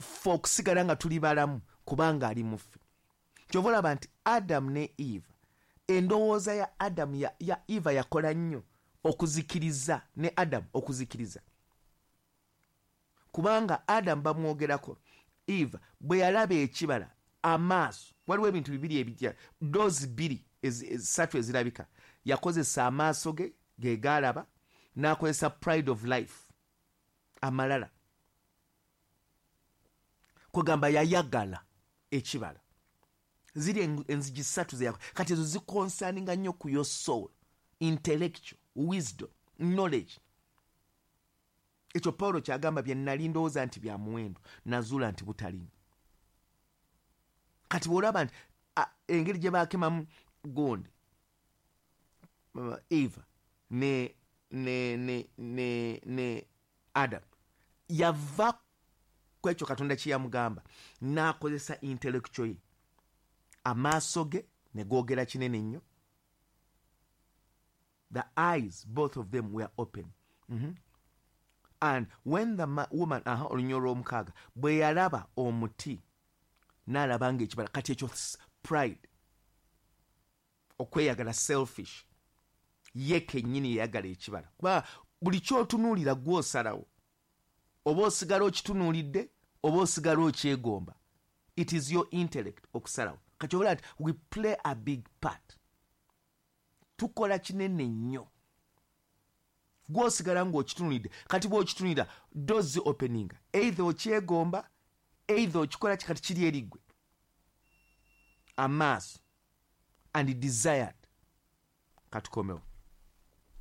Ffe okusigala nga tuli balamu kubanga ali muffe. Kyova olaba nti Adamu ne Eva, endowooza ya Adamu ya Eva yakola nnyo okuzikiriza ne Adamu okuzikiriza, kubanga Adamu bamwogerako, Eva bwe yalaba ekibala, amaaso, waliwo ebintu bibiri ebijja, doors bbiri, ssatu ezirabika. Yakozesa amaaso ge, ge gaalaba, n'akozesa pride of life, amalala, kwegamba yayagala ekibala. Ziri enzigi ssatu ze kati ezo ziconcerninga nnyo ku your soul, intellectual wisdom, knowledge. Ekyo Pawulo kyagamba, bye nali ndowooza nti bya muwendo, nazuula nti butalimu. Kati bw'olaba nti engeri gye bakemamu gundi Eva ne Adam, yava ku ekyo Katonda kye yamugamba n'akozesa intellectual ye, amaaso ge ne googera kinene nnyo. The eyes, both of them were open. And when the woman, aha, olunya olw'omukaaga, bwe yalaba omuti n'alaba nga ekibala, kati ekyo pride, okweyagala, selfish, ye kennyini yeyagala ekibala. Kuba buli kyotunuulira gw'osalawo oba osigala okitunuulidde oba osigala okyegomba. It is your intellect okusalawo. Kati obala nti we play a big part, tukola kinene nnyo. Gwosigala ng'okitunulidde. Kati bw'okitunulira, doors opening, either okyegomba, either okikola ki, kati kiri eriggwe amaaso and desired. Katukomewo.